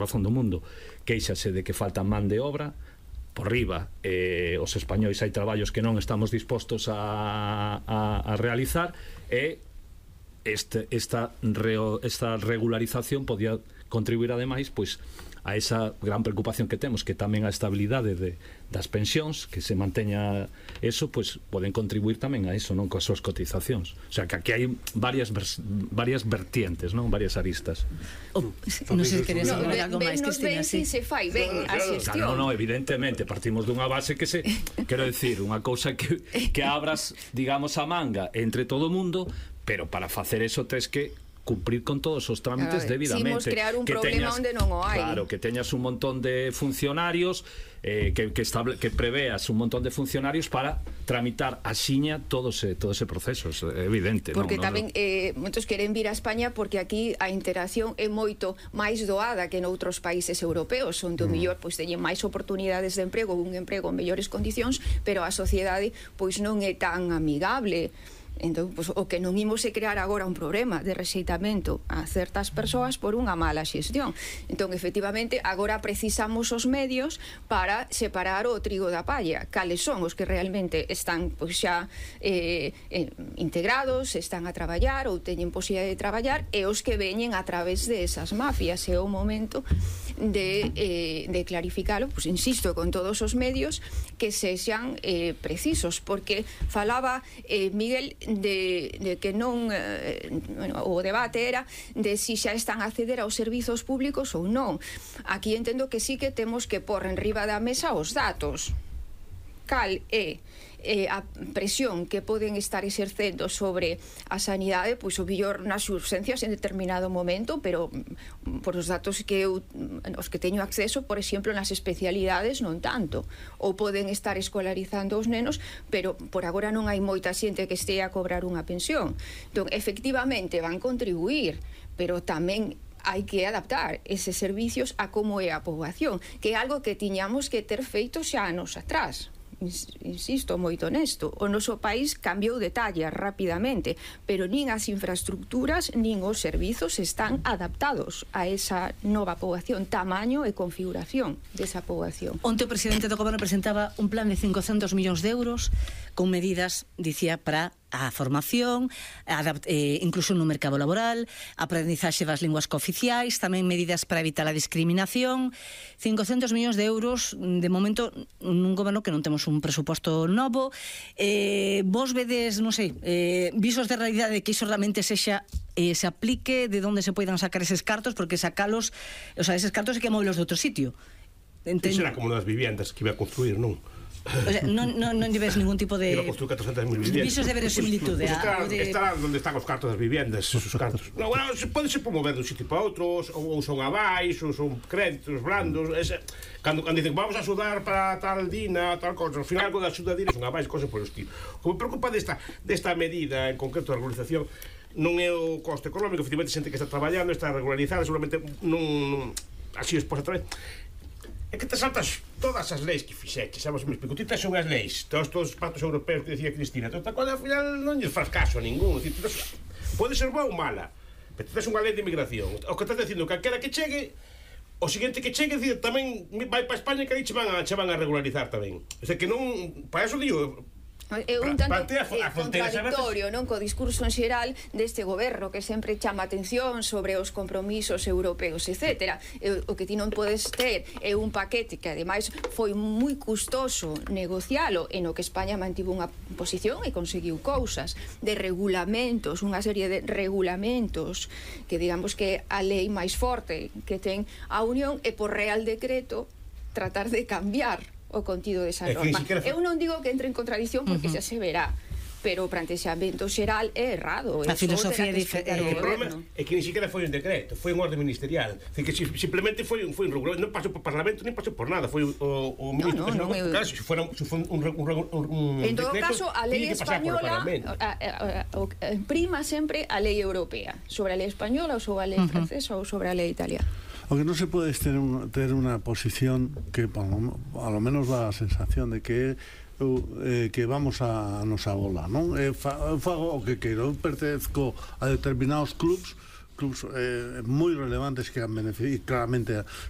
razón do mundo, queixase de que falta man de obra. Por riba, os españois hai traballos que non estamos dispostos a realizar, e esta regularización podía contribuir ademais pois a esa gran preocupación que temos, que tamén a estabilidade das pensións, que se manteña eso, pois poden contribuir tamén a eso, non, coas súas cotizacións. O sea, que aquí hai varias vertientes, non, varias aristas. Non sei se queres falar algo máis, Cristina. Si se fai ben a xestión. Non, evidentemente, partimos dunha base que quero decir, unha cousa que abras, digamos, a manga entre todo o mundo, pero para facer eso tens que cumprir con todos os trámites debidamente. Simos crear un problema onde non o hai. Claro, que teñas un montón de funcionarios, que preveas un montón de funcionarios para tramitar axiña todo ese proceso, é evidente. Porque tamén moitos queren vir a España porque aquí a interacción é moito máis doada que noutros países europeos, onde o mellor pois teñen máis oportunidades de emprego, un emprego en mellores condicións, pero a sociedade pois non é tan amigable. Entón, pues, o que non imos é crear agora un problema de rexeitamento a certas persoas por unha mala xestión. Entón, efectivamente, agora precisamos os medios para separar o trigo da palla. Cales son os que realmente están pues, xa integrados, están a traballar ou teñen posibilidade de traballar, e os que veñen a través de esas mafias. É o momento de clarificalo, pues, insisto, con todos os medios que sexan precisos, porque falaba Miguel de que non o debate era de si xa están a acceder aos servizos públicos ou non. Aquí entendo que sí que temos que pôr en riba da mesa os datos. Cal é a presión que poden estar exercendo sobre a sanidade, pois o mellor nas urxencias en determinado momento, pero por os datos que os que teño acceso, por exemplo, nas especialidades non tanto, ou poden estar escolarizando os nenos, pero por agora non hai moita xente que estea a cobrar unha pensión. Entón, efectivamente van contribuir, pero tamén hai que adaptar eses servicios a como é a poboación, que é algo que tiñamos que ter feito xa anos atrás. Insisto, moito honesto, o noso país cambiou de talla rapidamente, pero nin as infraestructuras nin os servizos están adaptados a esa nova poboación, tamaño e configuración desa poboación. Onte o presidente do goberno presentaba un plan de 500 millóns de euros con medidas, dicía, para a formación, incluso no mercado laboral, a aprendizaxe das linguas cooficiais, tamén medidas para evitar a discriminación. 500 millóns de euros, de momento, nun goberno que non temos un presuposto novo. Vos vedes, non sei, visos de realidade que iso realmente sexa se aplique, de onde se poidan sacar eses cartos, porque sacalos, o sea, eses cartos hai que movelos de outro sitio. Será como das viviendas que iba a construir, non? O sea, non lleves ningún tipo de visos de verosimilitude. Estará onde están os cartos das viviendas, esos cartos. No, bueno, pode ser por mover dun sitio para outro, ou son abais, ou son créditos blandos. Cando dicen vamos a axudar para tal dina, tal cosa, ao final algo da axuda dina son abais, cosas por estilo. O que me preocupa desta medida, en concreto a regularización, non é o coste económico. Efectivamente, xente que está traballando, está regularizada, seguramente non así exposta tamén. É que te saltas todas as leis que fixeches, sabes, me explico, ti tes unhas leis, todos os pactos europeos que decía Cristina, toda coisa, ao final non lle faz caso a ningún, pode ser boa ou mala, pero ti tes unha lei de inmigración, o que estás dicindo, calquera que chegue, o seguinte que chegue, tamén vai para España que aí che van a regularizar tamén, o sea, que non, para eso digo, é un tanto contradictorio, non, co discurso en xeral deste goberno que sempre chama atención sobre os compromisos europeos, etc. O que ti non podes ter é un paquete que ademais foi moi custoso negocialo, en o que España mantivo unha posición e conseguiu cousas de regulamentos, unha serie de regulamentos que digamos que a lei máis forte que ten a Unión, e por Real Decreto tratar de cambiar o contido desa norma. Eu non digo que entre en contradicción porque xa se verá, pero o plantexamento xeral é errado. A filosofía é diferente. O problema é que ni siquiera foi un decreto, foi un orden ministerial. Que simplemente foi un regulamento, non pasou por Parlamento, nem pasou por nada. Foi o ministro. Claro, se foi un en todo caso, a lei española prima sempre a lei europea sobre a lei española ou sobre a lei francesa ou sobre a lei italiana. O que non se pode ter unha posición que a lo menos dá a sensación de que vamos a nosa bola, non? Fago o que quero, eu pertezco a determinados clubs moi relevantes que han beneficiado, claramente